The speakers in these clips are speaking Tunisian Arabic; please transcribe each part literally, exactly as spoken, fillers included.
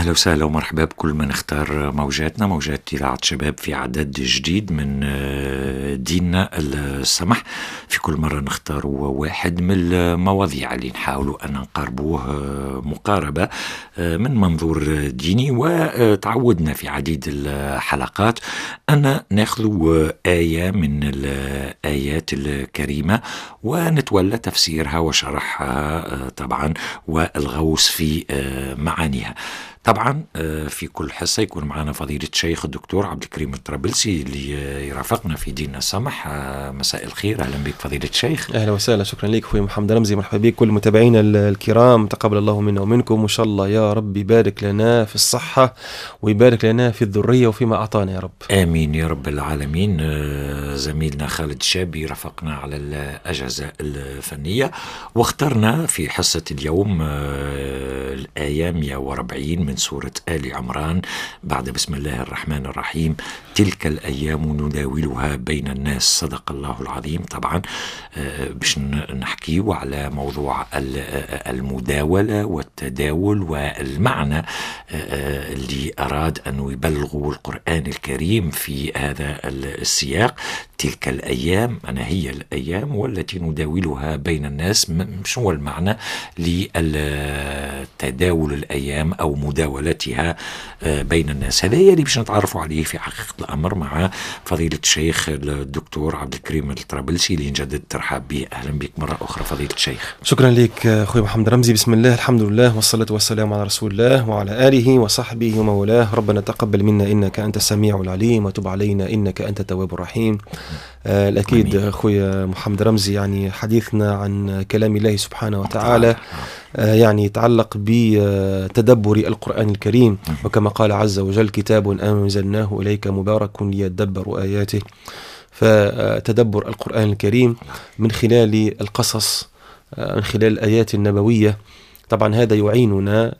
أهلا وسهلا ومرحبا بكل من اختار موجاتنا، موجات إذاعة شباب في عدد جديد من ديننا السمح. في كل مرة نختار واحد من المواضيع اللي نحاولوا أن نقاربوه مقاربة من منظور ديني، وتعودنا في عديد الحلقات أن ناخذ آية من الآيات الكريمة ونتولى تفسيرها وشرحها طبعا والغوص في معانيها. طبعا في كل حصة يكون معنا فضيلة الشيخ الدكتور عبد الكريم الطرابلسي اللي يرافقنا في ديننا السمح. مساء الخير، أهلا بك فضيلة الشيخ. أهلا وسهلا، شكرا لك أخوي محمد رمزي، مرحبا بك كل متابعينا الكرام، تقبل الله منا ومنكم، وإن شاء الله يا رب يبارك لنا في الصحة ويبارك لنا في الذرية وفيما أعطانا يا رب. آمين يا رب العالمين. زميلنا خالد الشابي رافقنا على الأجهزة الفنية، واخترنا في حصة اليوم الآية مئة وأربعين من سورة آل عمران بعد بسم الله الرحمن الرحيم: تلك الأيام نداولها بين الناس، صدق الله العظيم. طبعا باش نحكي على موضوع المداولة والتداول والمعنى اللي أراد أن يبلغوا القرآن الكريم في هذا السياق. تلك الأيام، أنا هي الأيام والتي نداولها بين الناس، شو المعنى للتداول الأيام أو مداولتها بين الناس؟ هذا اللي باش نتعرفوا عليه في حقيقة الأمر مع فضيلة الشيخ الدكتور عبد الكريم الطرابلسي اللي نجدد الترحاب به. أهلا بك مرة أخرى فضيلة الشيخ. شكرا لك أخوي محمد رمزي. بسم الله، الحمد لله، والصلاة والسلام على رسول الله وعلى آله وصحبه ومولاه. ربنا تقبل منا إنك أنت السميع العليم، وتب علينا إنك أنت التواب الرحيم. آه الأكيد أخوي محمد رمزي، يعني حديثنا عن كلام الله سبحانه وتعالى آه يعني يتعلق بتدبر القرآن الكريم، وكما قال عز وجل: كتاب أنزلناه إليك مبارك ليدبروا آياته. فتدبر القرآن الكريم من خلال القصص، من خلال الآيات النبوية، طبعا هذا يعيننا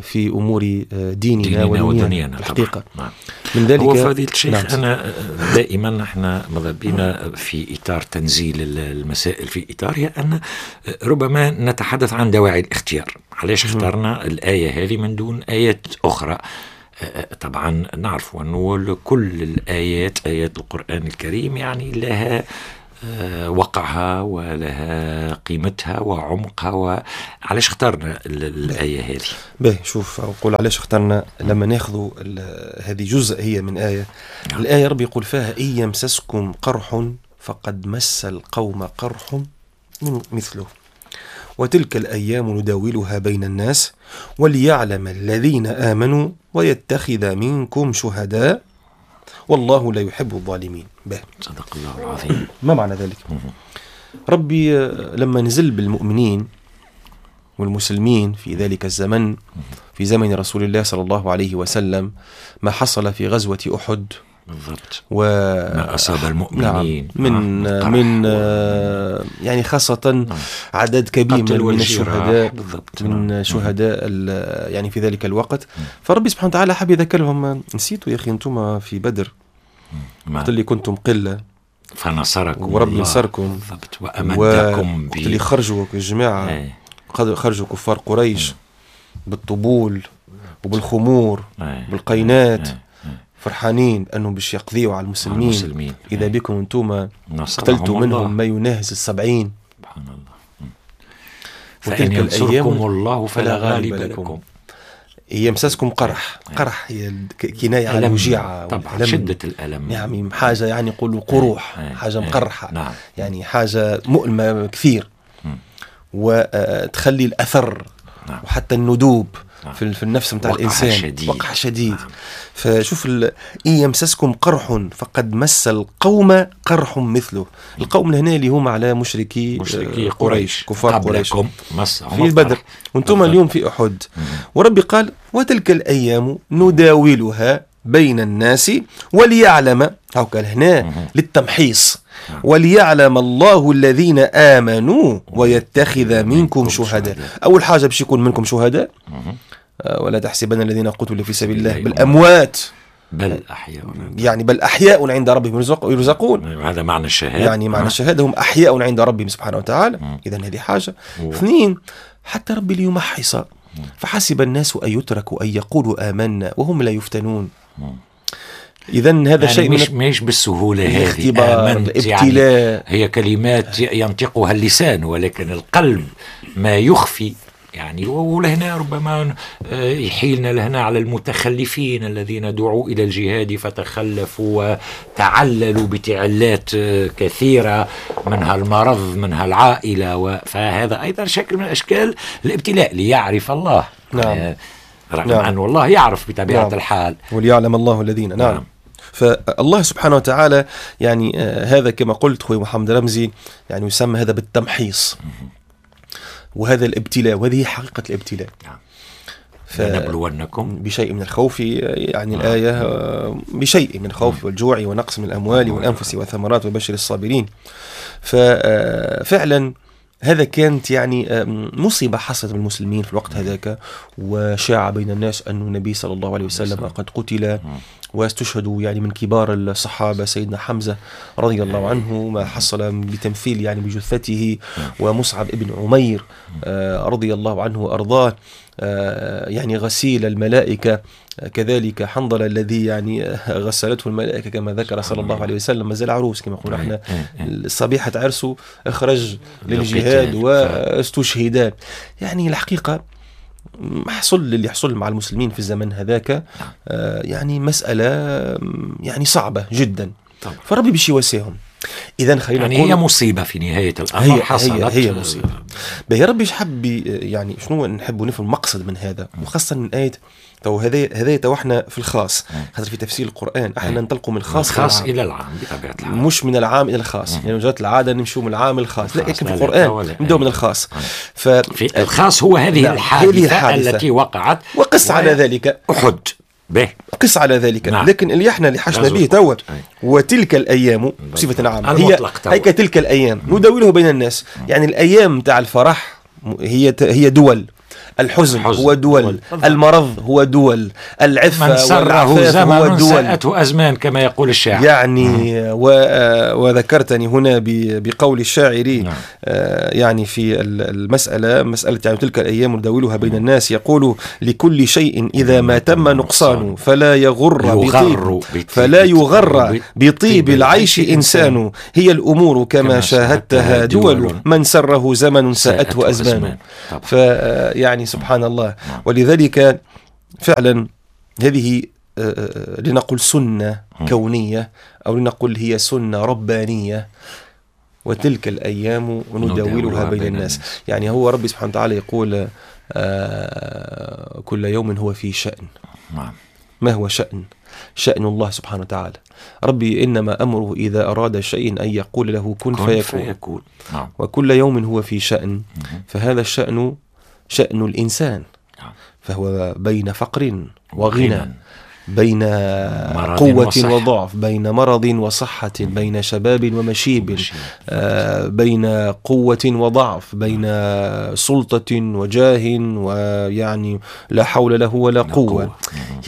في أمور ديننا, ديننا ودنيانا الحقيقة. نعم. من ذلك هو فضيلة الشيخ، نعم. أنا دائما نحن ماذا بينا في إطار تنزيل المسائل في إطارها أن ربما نتحدث عن دواعي الاختيار. علاش اخترنا الآية هذه من دون آيات أخرى؟ طبعا نعرف أنه كل الآيات، آيات القرآن الكريم، يعني لها وقعها ولها قيمتها وعمقها. وعلاش اخترنا الآية هذه؟ باهي، شوف أقول علاش اخترنا. لما ناخذ هذه جزء هي من آية، نعم. الآية ربي يقول فيها: إن يمسسكم قرح فقد مس القوم قرح من مثله، وتلك الأيام نداولها بين الناس وليعلم الذين آمنوا ويتخذ منكم شهداء والله لا يحب الظالمين. به. صدق الله العظيم. ما معنى ذلك؟ ربي لما نزل بالمؤمنين والمسلمين في ذلك الزمن، في زمن رسول الله صلى الله عليه وسلم، ما حصل في غزوة أحد بالضبط، وما أصاب المؤمنين، نعم، من آه من آه يعني خاصة نعم. عدد كبير من الشهداء، بالضبط، من نعم. شهداء يعني في ذلك الوقت. نعم. فربي سبحانه وتعالى حب يذكرهم: نسيتوا يا أخي أنتم في بدر وقت اللي كنتم قلة فنصركم وربي نصركم بالضبط وأمدكم، وقت اللي خرجوا الجماعة، ايه. خرجوا كفار قريش ايه. بالطبول وبالخمور ايه. بالقينات، ايه. فرحانين أنهم باش يقضيوا على المسلمين, المسلمين. إذا ايه. بكم أنتم قتلتوا منهم ما يناهز السبعين. سبحان الله. فإن ينصركم الله فلا غالب لكم. يمسسكم قرح، قرح هي كناية على الوجيعة، طبعا شدة الألم، يعني حاجة يعني يقولوا قروح، ايه. حاجة مقرحة، نعم. يعني حاجة مؤلمة كثير، وتخلي الأثر، نعم. وحتى الندوب، نعم. في النفس متاع الإنسان شديد. وقع شديد، نعم. فشوف ال... إن يمسسكم قرح فقد مس القوم قرح مثله. القوم هنا اللي هم على مشركي, مشركي قريش، كفار قريش في بدر، وانتم اليوم في أحد. وربي قال: وتلك الأيام نداولها بين الناس وليعلم، هاكا هنا للتمحيص، وليعلم الله الذين آمنوا ويتخذ منكم شهداء. أول حاجة باش يكون منكم شهداء، ولا تحسبن الذين قتلوا في سبيل الله بل أموات، بل أحياء، يعني بل أحياء عند ربهم يرزقون. هذا معنى الشهادة، يعني معنى الشهادة هم أحياء عند ربهم سبحانه وتعالى. إذا هذه حاجة. اثنين، حتى ربي ليمحص فحسب الناس أن يتركوا أن يقولوا آمنا وهم لا يفتنون. إذا هذا يعني شيء مش مش بالسهولة هذه، الاختبار، الابتلاء، يعني هي كلمات ينطقها اللسان ولكن القلب ما يخفي يعني. ولهنا ربما يحيلنا لهنا على المتخلفين الذين دعوا إلى الجهاد فتخلفوا وتعللوا بتعلات كثيرة، منها المرض، منها العائلة، فهذا أيضا شكل من أشكال الابتلاء ليعرف الله. نعم. رغم نعم. أن الله يعرف بطبيعة نعم. الحال، وليعلم الله الذين. نعم. نعم. فالله سبحانه وتعالى يعني آه هذا كما قلت خوي محمد رمزي يعني يسمى هذا بالتمحيص، وهذا الابتلاء، وهذه حقيقة الابتلاء. نعم. لنبلونكم بشيء من الخوف، يعني آه. الآية بشيء من الخوف والجوع ونقص من الأموال والأنفس والثمرات وبشر الصابرين. ففعلا هذا كانت يعني مصيبة حصلت بالمسلمين في الوقت هذاك، وشاع بين الناس أن النبي صلى الله عليه وسلم قد قتل، واستشهدوا يعني من كبار الصحابة سيدنا حمزة رضي الله عنه ما حصل بتمثيل يعني بجثته، ومصعب ابن عمير رضي الله عنه وأرضاه يعني غسيل الملائكة، كذلك حنظلة الذي يعني غسلته الملائكة كما ذكر صلى الله عليه وسلم، ما زال عروس كما نقول احنا، صبيحة عرسه اخرج للجهاد واستشهدا. يعني الحقيقة حصل اللي حصل مع المسلمين في الزمن هذاك يعني مسألة يعني صعبة جدا، فربي باش يواسيهم. إذا خلينا يعني نقول هي مصيبة في نهاية الأمر، هي حصلت هي, هي مصيبة. باهي ربي حب يعني شنو نحب نفهم المقصد من هذا، وخاصة من آية تو هذا هذا تو احنا في الخاص، خاطر في تفسير القرآن احنا ننطلقوا من الخاص الخاص إلى العام بطبيعة الحال، مش من العام إلى الخاص. يعني مجرد العادة نمشوا من العام للخاص، لا، لكن في القرآن نبدأ من الخاص. ف في الخاص هو هذه الحادثة, الحادثة التي وقعت، وقس على ذلك أحد به، قس على ذلك. نعم. لكن اللي احنا اللي حشنا به توا وتلك الايام بصفة عامة، هي هيك تلك الايام نداوله بين الناس. يعني الايام تاع الفرح هي هي دول، الحزن حزن. هو دول، المرض هو دول، العفة من سره زمن هو دول، ساءته أزمان كما يقول الشاعر يعني. و... وذكرتني هنا بقول الشاعر. نعم. يعني في المسألة مسألة يعني تلك الأيام نداولها بين الناس، يقول لكل شيء إذا ما تم نقصان فلا يغر بطيب فلا يغر بطيب العيش إنسان، هي الأمور كما شاهدتها دول، من سره زمن ساءته أزمان. فيعني سبحان الله. ولذلك فعلا هذه لنقل سنة كونية أو لنقل هي سنة ربانية، وتلك الأيام نداولها بين الناس. يعني هو ربي سبحانه وتعالى يقول كل يوم هو في شأن. ما هو شأن؟ شأن الله سبحانه وتعالى. ربي إنما أمره إذا أراد شيء أن يقول له كن فيكون, فيكون. وكل يوم هو في شأن. فهذا الشأن شأن الإنسان، فهو بين فقر وغنى، بين قوة وصحة. وضعف، بين مرض وصحة، بين شباب ومشيب، آه بين قوة وضعف، بين سلطة وجاه، ويعني لا حول له ولا قوة, قوة.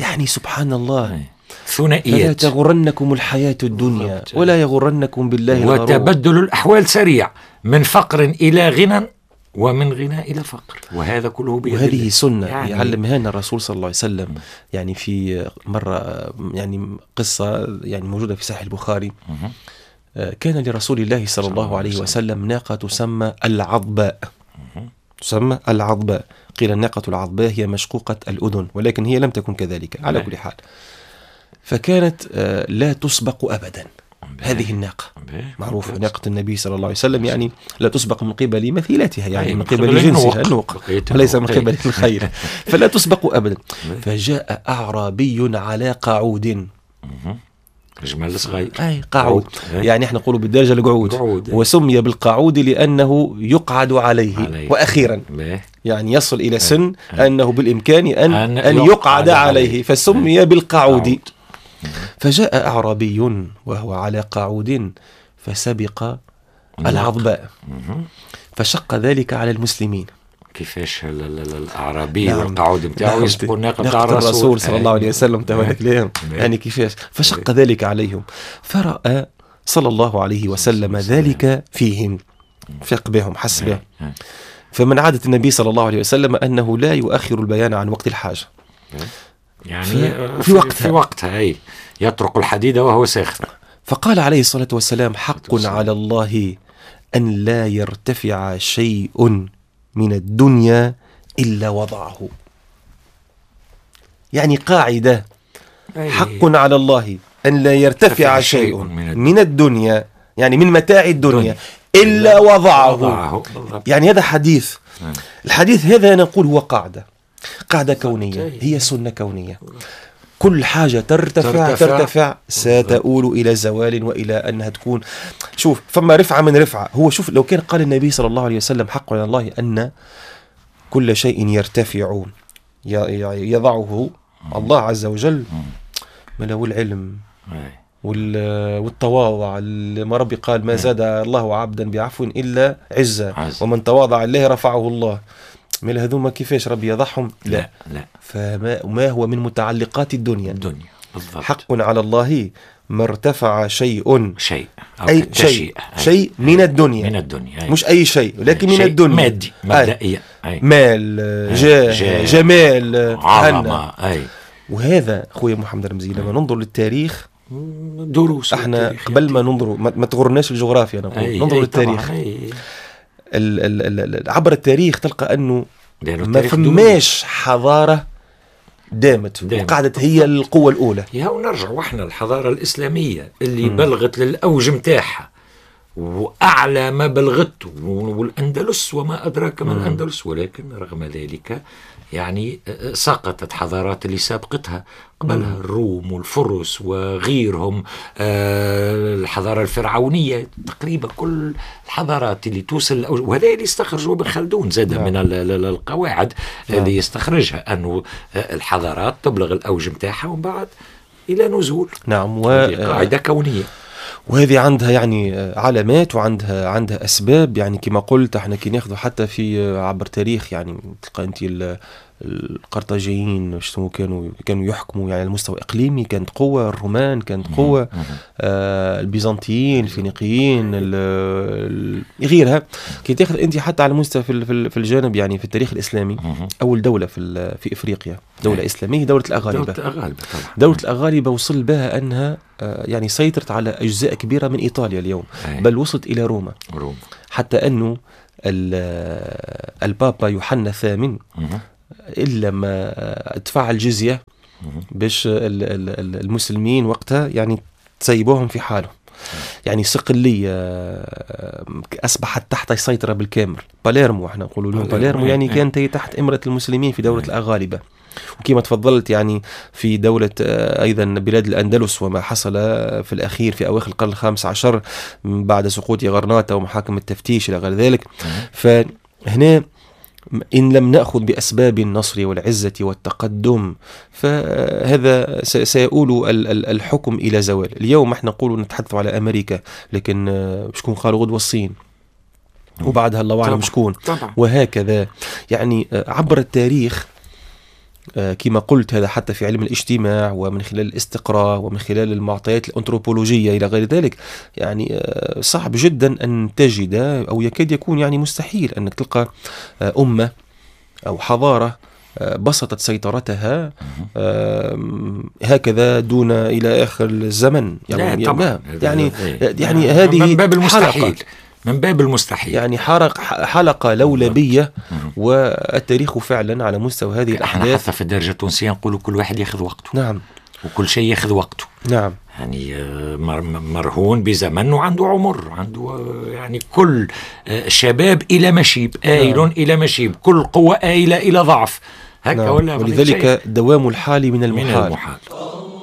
يعني سبحان الله. ثنائيات. فلا تغرنكم الحياة الدنيا ولا يغرنكم بالله الغرور. وتبدل الأحوال سريع من فقر إلى غنى ومن غنى إلى فقر، وهذا كله بيد وهذه سنة يعني يعلمها لنا الرسول صلى الله عليه وسلم. يعني في مرة يعني قصة يعني موجودة في صحيح البخاري، كان لرسول الله صلى الله عليه وسلم ناقة تسمى العضباء، تسمى العضباء. قيل الناقة العضباء هي مشقوقة الأذن، ولكن هي لم تكن كذلك على كل حال. فكانت لا تسبق أبدا هذه الناقة، معروفة ناقة النبي صلى الله عليه وسلم، يعني لا تسبق من قبل مثيلتها، يعني من قبل جنسها النوق وليس من قبل الخيل، فلا تسبق أبدا. فجاء أعرابي على قعود، جمال صغير، أي قعود، يعني احنا نقولوا بالدارجة القعود، وسمي بالقعود لأنه يقعد عليه, عليه. وأخيرا يعني يصل إلى سن أنه بالإمكان أن, أن, أن يقعد عليه, فسمي بالقعود. فجاء أعرابي وهو على قعود فسبق العضباء، فشق ذلك على المسلمين. كيفاش الأعرابي نعم. والقعود نتاعو يسبقوا الناقة نتاع الرسول, الرسول صلى الله عليه وسلم تبارك يعني كيفاش فشق ذلك عليهم. فرأى صلى الله عليه وسلم ذلك فيهم، فق بهم، حس بهم، فمن عادة النبي صلى الله عليه وسلم أنه لا يؤخر البيان عن وقت الحاجة، يعني في, في وقتها, في وقتها أي يطرق الحديد وهو ساخن. فقال عليه الصلاة والسلام: حق على الله أن لا يرتفع شيء من الدنيا إلا وضعه. يعني قاعدة، حق على الله أن لا يرتفع شيء من الدنيا، يعني من متاع الدنيا، إلا وضعه, وضعه. يعني هذا حديث، الحديث هذا أنا أقول هو قاعدة، قاعدة كونية، هي سنة كونية. كل حاجة ترتفع ترتفع, ترتفع ستؤول إلى زوال وإلى أنها تكون. شوف، فما رفعة من رفعة. هو شوف، لو كان قال النبي صلى الله عليه وسلم حق على الله أن كل شيء يرتفع يضعه الله عز وجل، ما له العلم والتواضع، ما ربي قال ما زاد الله عبدا بعفو إلا عزة ومن تواضع لله رفعه الله. من هذوما كيفاش ربي يضعهم؟ لا لا, لا. فما ما هو من متعلقات الدنيا, الدنيا. بالضبط. حق على الله ما ارتفع شيء شيء أو أي شيء شيء من الدنيا, من الدنيا أي. مش أي شيء، ولكن أي. من الدنيا، مادي مبدئيا، مال، جاه، جاه، جمال، عظمة. أي. وهذا خويا محمد رمزي لما ننظر للتاريخ دروس احنا قبل ما ننظر ما تغرناش الجغرافيا، نقول ننظر أي للتاريخ. أي. ال ال عبر التاريخ تلقى أنه ما فماش حضارة دامت, دامت وقعدت هي القوة الأولى. يا ونرجع واحنا الحضارة الإسلامية اللي م. بلغت للأوج متاعها وأعلى ما بلغته، والأندلس وما أدراك ما الأندلس، ولكن رغم ذلك يعني سقطت حضارات اللي سابقتها قبلها، الروم والفرس وغيرهم، الحضارة الفرعونية، تقريبا كل الحضارات اللي توصل، وهذا اللي استخرجه ابن خلدون زاد من القواعد اللي يستخرجها، أنه الحضارات تبلغ الأوج متاعها ومن بعد إلى نزول. نعم، و... قاعدة كونية، وهذه عندها يعني علامات وعندها عندها أسباب. يعني كما قلت احنا كي ناخذ حتى في عبر تاريخ، يعني تلقى أنت القرطاجيين شنو كانوا كانوا يحكموا يعني على المستوى الإقليمي، كانت قوة، الرومان كانت قوة، آه البيزنطيين، الفينيقيين، غيرها. كي تاخذ أنت حتى على المستوى في في الجانب يعني في التاريخ الإسلامي، أول دولة في في إفريقيا دولة إسلامية، دولة الأغالبة. دولة الأغالبة طبعا. دولة الأغالبة وصل بها أنها يعني سيطرت على أجزاء كبيرة من إيطاليا اليوم، بل وصلت إلى روما. روما. حتى أنه البابا يوحنا الثامن إلا ما دفع الجزية باش المسلمين وقتها يعني تسيبوهم في حالهم. يعني صقلية أصبحت تحت سيطرة بالكامل. باليرمو، احنا نقولوا لهم باليرمو، يعني كانت هي تحت إمرة المسلمين في دولة الأغالبة. وكما تفضلت يعني في دولة أيضا بلاد الأندلس، وما حصل في الأخير في أواخر القرن الخامس عشر بعد سقوط غرناطة ومحاكم التفتيش إلى غير ذلك. فهنا إن لم نأخذ بأسباب النصر والعزة والتقدم فهذا سيؤول الحكم إلى زوال. اليوم احنا نقول نتحدث على أمريكا، لكن شكون قالوا غدوة الصين، وبعدها الله أعلم شكون، وهكذا. يعني عبر التاريخ كما قلت، هذا حتى في علم الاجتماع ومن خلال الاستقراء ومن خلال المعطيات الأنثروبولوجية إلى غير ذلك، يعني صعب جدا أن تجد أو يكاد يكون يعني مستحيل أنك تلقى أمة أو حضارة بسطت سيطرتها هكذا دون إلى آخر الزمن. يعني لا طبعا. يعني يعني هذه من باب المستحيل، من باب المستحيل، يعني حرق حلقة لولبية. والتاريخ فعلا على مستوى هذه الأحداث، حتى في الدرجة التونسية نقولوا كل واحد ياخذ وقته. نعم. وكل شيء ياخذ وقته. نعم. يعني مرهون بزمن وعنده عمر، عنده يعني كل شباب إلى مشيب، آيل نعم. إلى مشيب، كل قوة آيلة إلى ضعف، هكا نعم. ولا. ولذلك دوام الحال من المحال, من المحال.